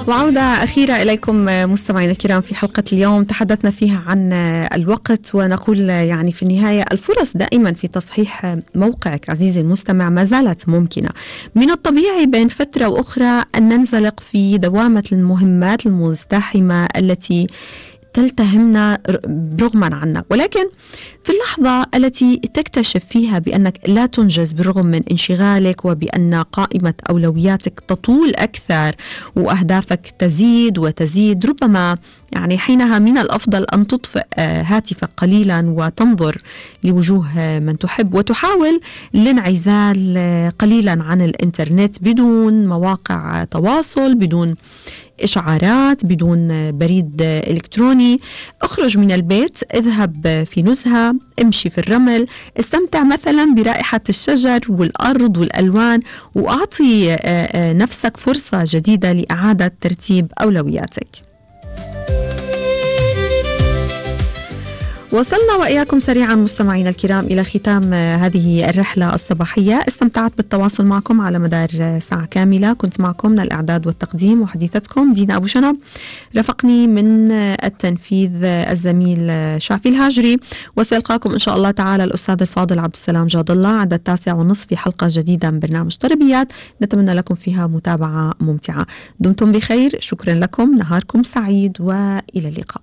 وعودة أخيرة إليكم مستمعينا الكرام في حلقة اليوم تحدثنا فيها عن الوقت، ونقول يعني في النهاية الفرص دائما في تصحيح موقعك عزيزي المستمع ما زالت ممكنة. من الطبيعي بين فترة وأخرى أن ننزلق في دوامة المهمات المزدحمة التي تلتهمنا رغما عنا، ولكن في اللحظة التي تكتشف فيها بأنك لا تنجز بالرغم من انشغالك، وبأن قائمة أولوياتك تطول أكثر وأهدافك تزيد وتزيد، ربما يعني حينها من الأفضل أن تطفئ هاتفك قليلا وتنظر لوجوه من تحب، وتحاول الانعزال قليلا عن الإنترنت بدون مواقع تواصل، بدون إشعارات، بدون بريد إلكتروني. اخرج من البيت، اذهب في نزهة، امشي في الرمل، استمتع مثلا برائحة الشجر والأرض والألوان، وأعطي نفسك فرصة جديدة لإعادة ترتيب أولوياتك. وصلنا وإياكم سريعا مستمعينا الكرام إلى ختام هذه الرحلة الصباحية. استمتعت بالتواصل معكم على مدار ساعة كاملة، كنت معكم من الإعداد والتقديم وحديثتكم دينا أبو شنب، رافقني من التنفيذ الزميل شافي الهاجري، وسيلقاكم إن شاء الله تعالى الأستاذ الفاضل عبد السلام جاد الله عند 9:30 في حلقة جديدة من برنامج تربيات نتمنى لكم فيها متابعة ممتعة. دمتم بخير، شكرا لكم، نهاركم سعيد وإلى اللقاء.